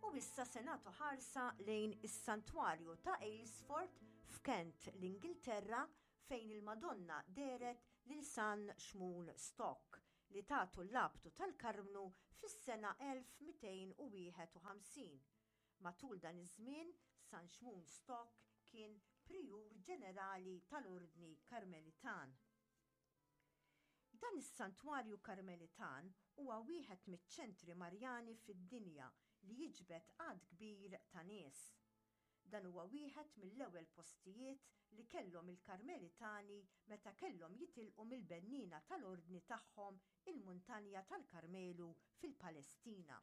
U issa se nagħtu ħarsa lejn is-Santwarju ta' Aylesford f'Kent, l-Ingilterra, fejn il-Madonna dehret lil San Xmun Stock li tatu l-labtu tal-Karmnu fis-sena 1251. Matul dan iż-żmien, San Xmun Stock kien Prijur Ġenerali tal-Ordni Karmelitan. Dan is-santwarju Karmelitan huwa wieħed miċ-ċentri Marjani fid-dinja li jiġbed għadd kbir ta' nies. Dan huwa wieħed mill-ewwel postijiet li kellhom il-Karmelitani meta kellhom jitilqu mill-benniena tal-Ordni tagħhom il-Muntanja tal-Karmelu fil-Palestina.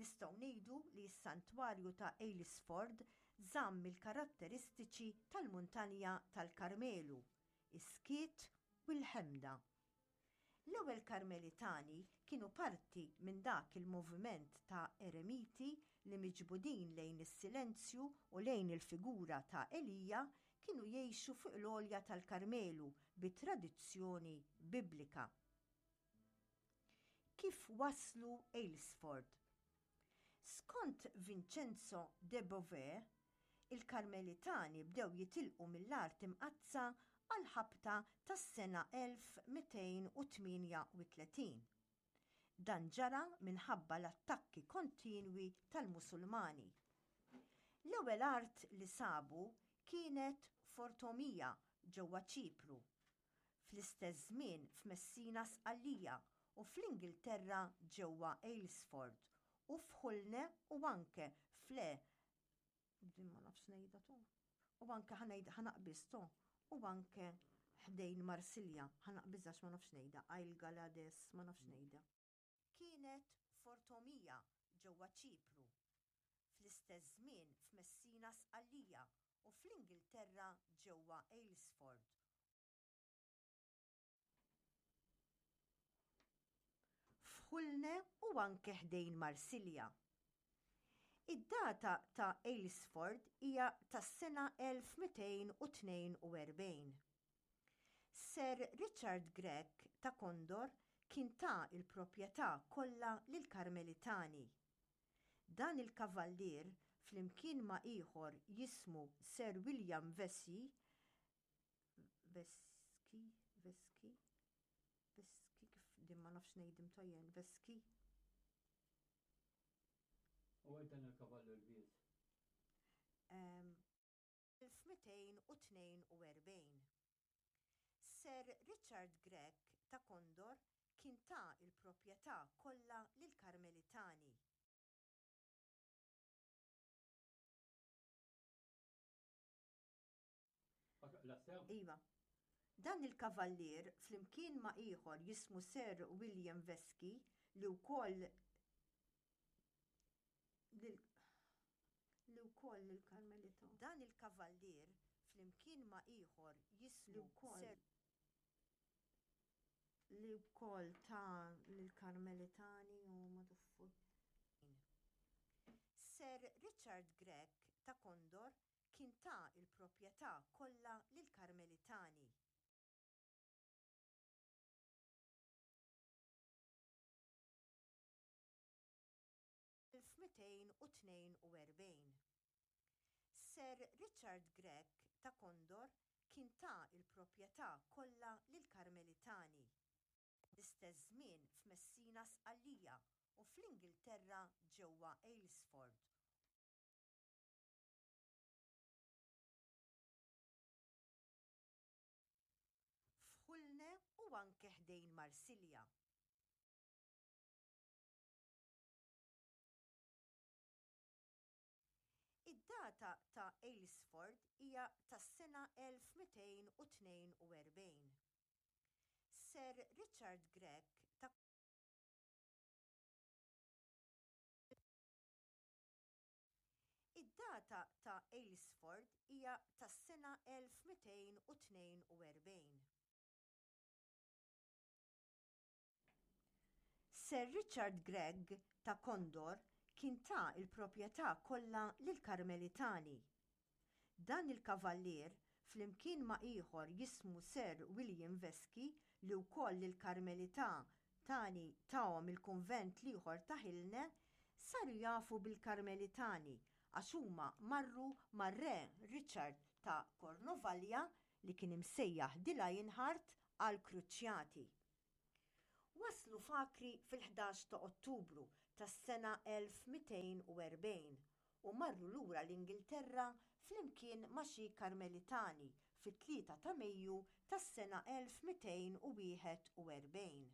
Nistgħu ngħidu li s-santwarju ta' Aylesford żamm il-karatteristiċi tal-Muntanja tal-Karmelu, is-skiet u l-ħemda. L-ewwel Karmelitani kienu parti minn dak il-moviment ta' eremiti li miġbudin lejn is-silenzju u lejn il-figura ta' Elija kienu jgħixu fuq l-għolja tal-Karmelu bi tradizzjoni Biblika. Kif waslu Aylesford? Skont Vincenzo de Beauvais, il-Karmelitani bdew jitilqu mill-Art Imqaddsa għall-ħabta tas-sena 1238. Dan ġara minħabba l-attakki kontinwi tal-Musulmani. L-ewwel art li sabu kienet Fortomia ġewwa Ċipru. Fl-istess żmien f'Messina Sqallija u fl-Ingilterra ġewwa Aylesford u f'Hulne u anke f'Le din ma nafx ngħidha tu. U anke ħa ngħid ħa naqbiż to. U anke ħdejn Marsilja ħa naqbiż għax ma nafx ngħidha Ailgalades ma nafx ngħidha. Kienet Fortomia ġewwa Ċipru. Fl-istess żmien f'Messina Sqallija u fl-Ingilterra ġewwa Aylesford F'Hulne u anke ħdejn Marsilja. Id-data ta' Aylesford hija tas-sena 1242. Sir Richard Gregg ta' Condor kien ta l-proprjetà kollha lill-Karmelitani. Dan il-kavallier, flimkien ma' ieħor jismu Sir William Vesey, Veski, Veski, Veski, kif din ma nafx ngħidim tajjen, Veski. U għed dan il-kavallu l-biż. 1242. Sir Richard Gregg ta' Condor kien ta l-proprjetà kollha lill-Karmelitani. Iva. Dan il-kavallier, flimkien ma' ieħor jismu Sir William Vesky, li wkoll li wkoll lill-Karmelita. Dan il-kavallier, flimkien ma' ieħor jismu Sir. Li wkoll ta lill-Karmelitani u maduffu. Sir Richard Gregg ta' Condor kien ta l-proprjetà kollha lill-Karmelitani. 1242. Sir Richard Gregg ta' Condor kien ta l-proprjetà kollha lill-Karmelitani. L-istess żmien f'Messina Sqallija u fl-Ingilterra ġewwa Aylesford. F'Hulne u anke ħdejn Marsilja. Id-data ta' Aylesford hija tas-sena 1242. Sir Richard Gregg ta' Id-data ta' Aylesford hija tas-sena 1242. Sir Richard Gregg ta' Condor kien ta l-proprjetà kollha lill-Karmelitani. Dan il-kavallier, flimkien ma' ieħor jismu Sir William Vesky li wkoll lill-Karmelità tani tahom il-kunvent l-ieħor ta' Hilne, saru jafu bil-Karmelitani għax huma marru mar-Re Richard ta' Kornovalja li kien imsejjaħ The Lionheart għall-Kruċjati. Waslu f'Acri fil-ħdax ta' Ottubru tas-sena 1240 u marru lura l-Ingilterra flimkien ma' xi Karmelitani fit-tlieta ta' Mejju tas-sena 1241.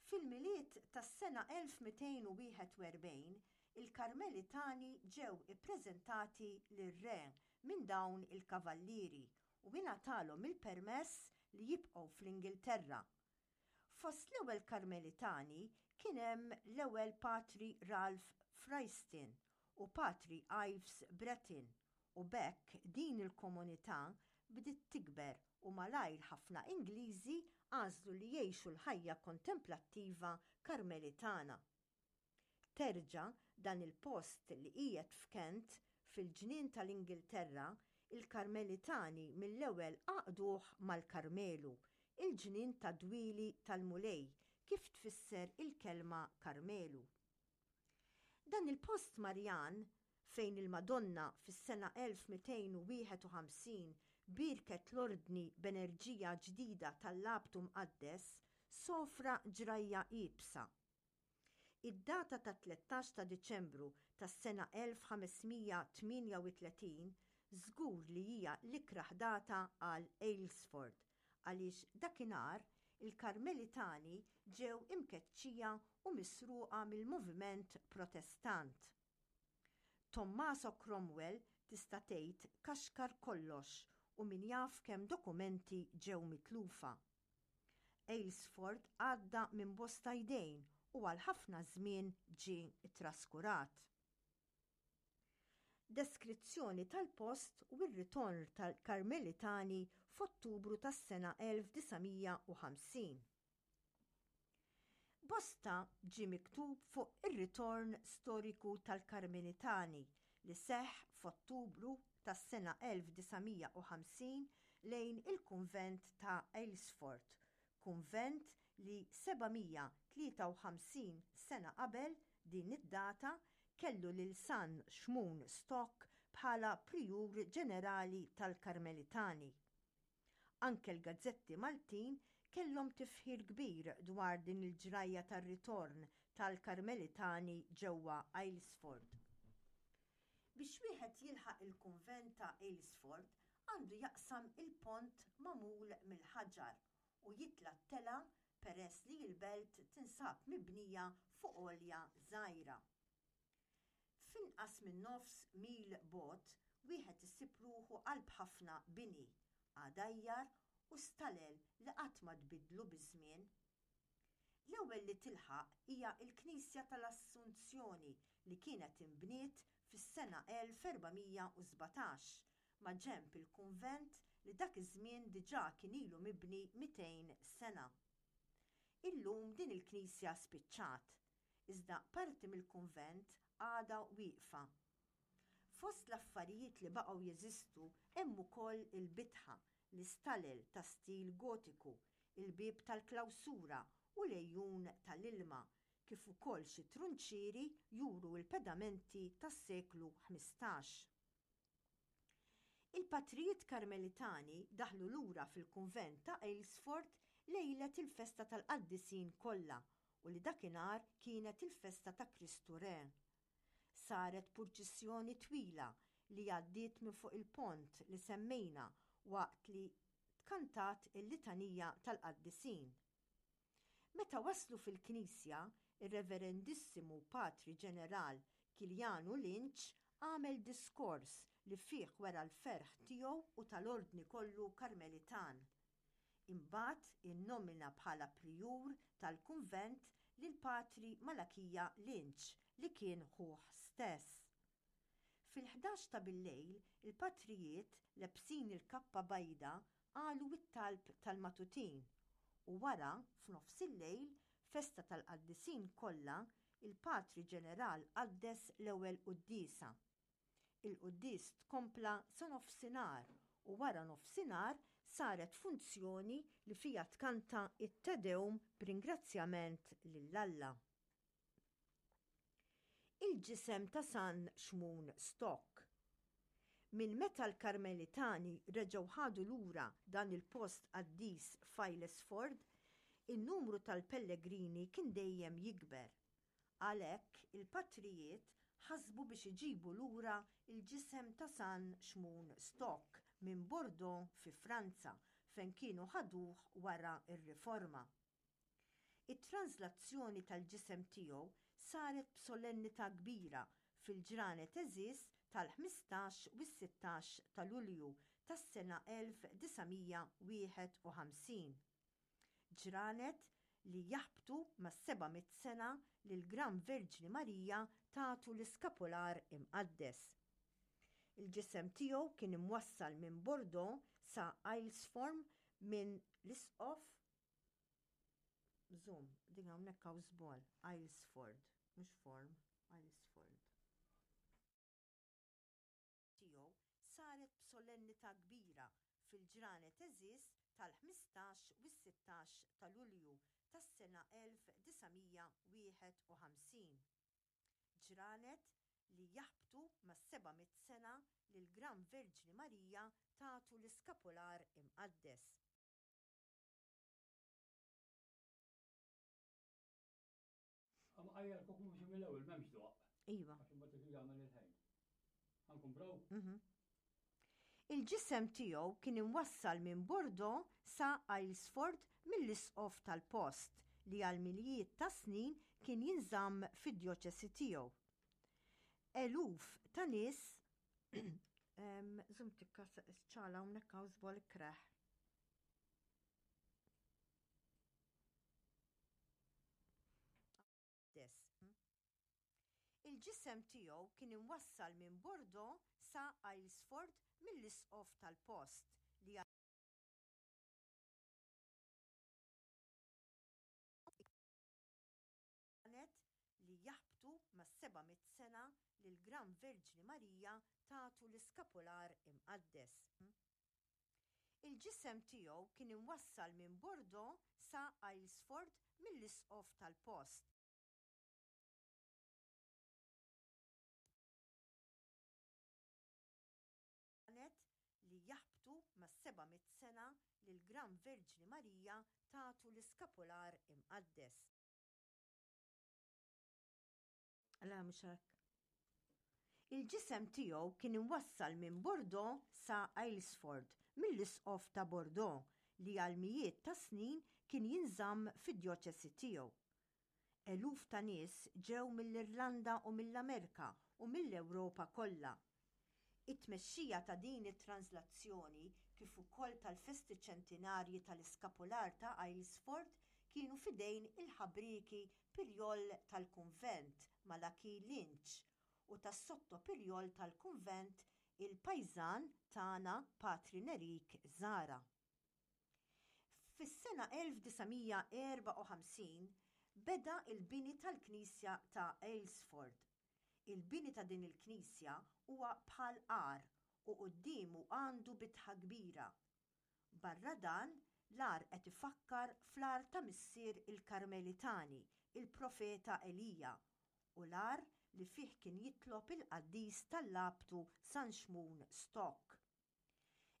Fil-Milied tas-sena 1241, il-Karmelitani ġew ippreżentati lir-re minn dawn il-kavallieri u ingħatalhom il-permess li jibqgħu fl-Ingilterra. Fost l-ewwel Karmelitani kien hemm l-ewwel Patri Ralph Fryston u Patri Ives Bretton u b'hekk din il-komunità bdiet tikber u malajr ħafna Ingliżi għażlu li jgħixu l-ħajja kontemplattiva Karmelitana. Terġa' dan il-post li qiegħed f'Kent, fil-ġnien tal-Ingilterra, il-Karmelitani mill-ewwel għaqduh mal-Karmelu, il-ġnien tad-dwieli tal-Mulej, kif tfisser il-kelma Karmelu. Dan il-post Marjan, fejn il-Madonna fis-sena 1251 bierket l-Ordni b'enerġija ġdida tal-Labtu Mqaddes, sofra ġrajja iebsa. Id-data tat-13 ta' Diċembru tas-sena 1538 żgur li hija l-ikrah data għal Aylesford għaliex dakinhar il-Karmelitani ġew imkeċċija u misruqa mill-moviment Protestant. Tommaso Cromwell tista' tgħid kaxkar kollox u min jaf kemm dokumenti ġew mitlufa. Aylesford għadda minn bosta jdejn u għal ħafna żmien ġie ttraskurat. Deskrizzjoni tal-post u r-ritorn tal-Karmelitani f'Ottubru tas-sena 1950. Bosta ġie miktub fuq ir-ritorn storiku tal-Karmelitani li seħħ f'Ottubru tas-sena 1950 lejn il-kunvent ta' Aylesford, kunvent li 753 sena qabel din id-data kellu lil San Xmun Stock bħala Prijur Ġenerali tal-Karmelitani. Anke l-gazzetti Maltin kellhom tifħir kbir dwar din il-ġrajja tar-ritorn tal-Karmelitani ġewwa Aylesford. Biex wieħed jilħaq il-kunvent ta' Aylesford għandu jaqsam il-pont magħmul mill-ħaġar u jitla' t-telgħa peress li l-belt tinsab mibnija fuq għolja żgħira. F'inqas minn nofs mil bogħod wieħed isib ruħu qalb ħafna bini, għadajjar u stalel li qatt ma tbiddlu biż-żmien. L-ewwel li tilħaq hija l-Knisja tal-Assunzjoni li kienet inbniet fis-sena 1417 maġenb il-kunvent li dak iż-żmien diġà kien ilu mibni 200 sena. Illum din il-knisja spiċċat, iżda parti mill-kunvent għadha wieqfa. Fost l-affarijiet li baqgħu jeżistu hemm ukoll il-bitħa, l-istalel ta' stil Gotiku, il-bieb tal-klawsura u l-għejun tal-ilma, kif ukoll xi trunċieri juru l-pedamenti tas-seklu 15. Il-patrijiet Karmelitani daħlu lura fil-kunvent ta' Aylesford lejlet il-festa tal-qaddisin kollha u li dakinhar kienet il-festa ta' Kristu Re. Saret purċissjoni twila li għaddiet minn fuq il-pont li semmejna waqt li tkantat il-litanija tal-qaddisin. Meta waslu fil-knisja, ir-Reverendissimu Patri Ġeneral Kilianu Lynch għamel diskors li fih wera l-ferħ tiegħu u tal-Ordni kollu Karmelitan. Imbagħad innomina bħala Prijur tal-kunvent lil Patri Malakija Lynch li kien ħuh stess. Fil-ħdax ta' billejl, il-patrijiet, lebsin il-kappa bajda, qalu t-talb tal-matutin, u wara, f'nofsillejl, festa tal-qaddisin kollha, il-Patri Ġeneral qaddes l-ewwel quddiesa. Il-quddies tkompla sa nofsinhar u wara nofsinhar saret funzjoni li fiha tkanta t-Te Deum b'ringrazzjament lil Alla. il-ġisem ta' San Xmun Stock. Minn meta l-Karmelitani reġgħu ħadu lura dan il-post qaddis f'Aylesford, in-numru tal-pellegrini kien dejjem jikber. Għalhekk il-patrijiet ħasbu biex iġibu lura l-ġisem ta' San Xmun Stock minn Bordeaux fi Franza fejn kienu ħaduh wara r-Riforma. It-translazzjoni tal-ġisem tiegħu saret b'solennità kbira fil-ġranet għeżież tal-15 u s-16 ta' Lulju tas-sena 1951. Ġranet li jaħbtu mas-seba' mitt sena li l-Gran Verġni Marija tatu l-Iskapular Imqaddes. Il-ġisem tiegħu kien imwassal minn Bordeaux sa Aylesform minn l-Isqof Zoom, din hawnhekk hawn żball, Aylesford, mhux form, Aylesford. Tiegħu saret b'solennità kbira fil-ġranet għeżież tal-15 u s-16 ta' Lulju tas-sena 1951. Ġranet li jaħbtu mas-seba' mitt sena li l-Gran Verġni Marija tatu l-Iskapular Imqaddes. Għajja l-kuku mux mill-ewel, memx doq. Iva. Għax imbagħad irid jagħmel il-ħejn. Ħankumbraw? Mhm. Il-ġisem tiegħu kien imwassal minn Bordeaux sa Aylesford mill-isqof tal-post li għal miljiet ta' snin kien jinżamm fid-djoċesi tiegħu. Eluf ta' nies Zum tikka ċala hawnhekk hawn żball kreħ. Il-ġisem tiegħu kien imwassal minn Bordeaux sa Aylesford mill-isqof tal-post li ġranet li jaħbtu mas-seba' mitt sena li l-Gran Verġni Marija tatu l-Iskapular Imqaddes. Il-ġisem tiegħu kien imwassal minn Bordeaux sa Aylesford mill-isqof tal-post. Ġranet li jaħbtu mas-seba' mitt sena li l-Gran Verġni Marija tatu l-Iskapular Imqaddes. Le, mhux hekk. Il-ġisem tiegħu kien imwassal minn Bordeaux sa Aylesford mill-Isqof ta' Bordeaux li għal mijiet ta' snin kien jinżamm fid-djoċesi tiegħu. Eluf ta' nies ġew mill-Irlanda u mill-Amerka u mill-Ewropa kollha. It-tmexxija ta' din it-tranżlazzjoni kif ukoll tal-festi ċentinarji tal-Iskapular ta' Aylesford kienu f'idejn il-ħabrieki Pirjol tal-kunvent Malachi Lynch u tas-sotto-pirjol tal-kunvent il-pajżan tagħna Patri Nerik Zahra. Fis-sena 1954 beda l-bini tal-knisja ta' Aylesford. Il-bini ta' din il-knisja huwa bħal għar u quddiemu għandu bitħa kbira. Barra dan, l-għar qed ifakkar fl-għar ta' missier il-Karmelitani, il-profeta Elija, u l-għar li fih kien jitlob il-qaddis tal-Labtu San Xmun Stock.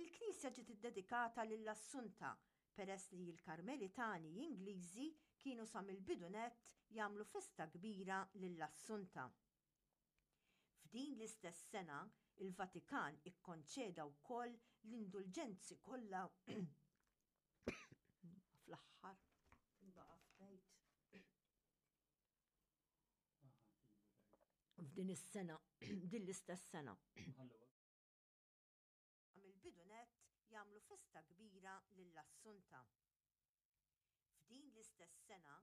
Il-knisja ġiet iddedikata lill-Assunta peress li l-Karmelitani Ingliżi kienu sa mill-bidu nett jagħmlu festa kbira lill-Assunta. F'din l-istess sena, il-Vatikan ikkonċeda wkoll l-indulġenzi kollha fl-aħħar baqa' f'bejt. F'din is-sena, din l-istess sena. Mill-bidu nett jagħmlu festa kbira lill-Assunta. F'din l-istess sena,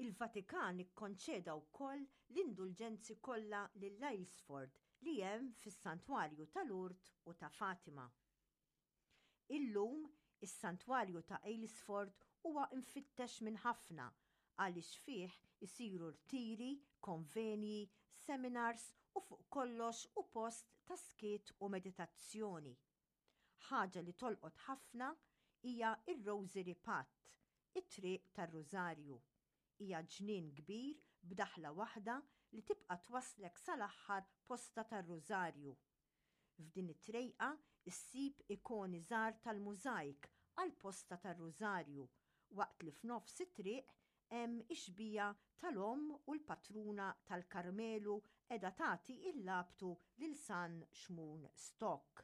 Il-Vatikan ikkonċeda wkoll l-indulġenzi kollha lil Aylesford li hemm fis-Santwarju ta' Lourdes u ta' Fatima. Illum, is-Santwarju ta' Aylesford huwa mfittex minn ħafna għaliex fih isiru rtiri, konvenji, seminars u fuq kollox hu post ta' skiet u meditazzjoni. Ħaġa li tolqot ħafna hija r-Rosary Path, it-Triq tar-Rużarju. Hija ġnien kbir b'daħla waħda li tibqa' twasslek sal-aħħar posta tar-Rużarju. F'din it-trejqa ssib ikoni żgħar tal-mużajk għall-posta tar-Rużarju, waqt li f'nofs it-triq hemm ix-xbieha tal-Omm u l-Patruna tal-Karmelu qiegħda tagħti l-labtu lil San Xmun Stock.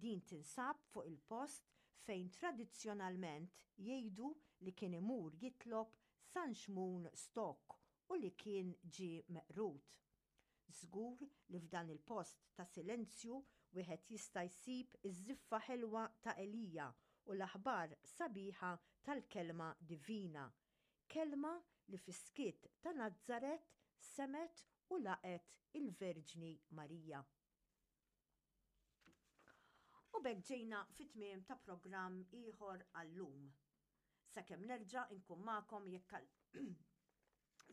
Din tinsab fuq il-post fejn tradizzjonalment jgħidu li kien imur jitlob San Xmun Stock u li kien ġie meqrud. Żgur li f'dan il-post ta' silenzju wieħed jista' jsib iż-żiffa ħelwa ta' Elija u l-aħbar sabiħa tal-Kelma Divina, Kelma li fis-skiet ta' Nazaret semgħet u laqgħet il-Verġni Marija. U b'hekk ġejna fit-tmiem ta' programm ieħor għal-lum. Sakemm nerġa' nkun magħkom jekk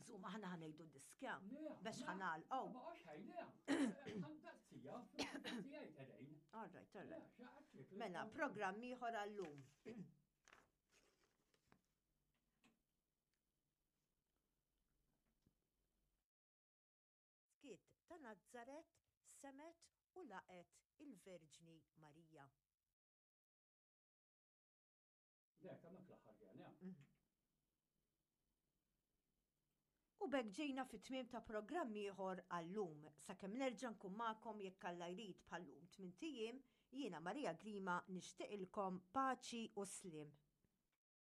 Zuma aħna ħanejdu diskja biex ħanal. Oh. All right, all right. Mela, programm ieħor għallum. Skiet ta' Nazzaret semet u laqet il-Verġni Marija. Le, hemmhekk l-aħħar kien, ja. Mhm. U b'hekk ġejna fit-tmiem ta' programm ieħor għal-lum. Sakemm nerġa' nkun magħkom jekk Alla jrid bħal-lum tmint ijiem, jiena Maria Grima nixtieqilkom paċi u sliem.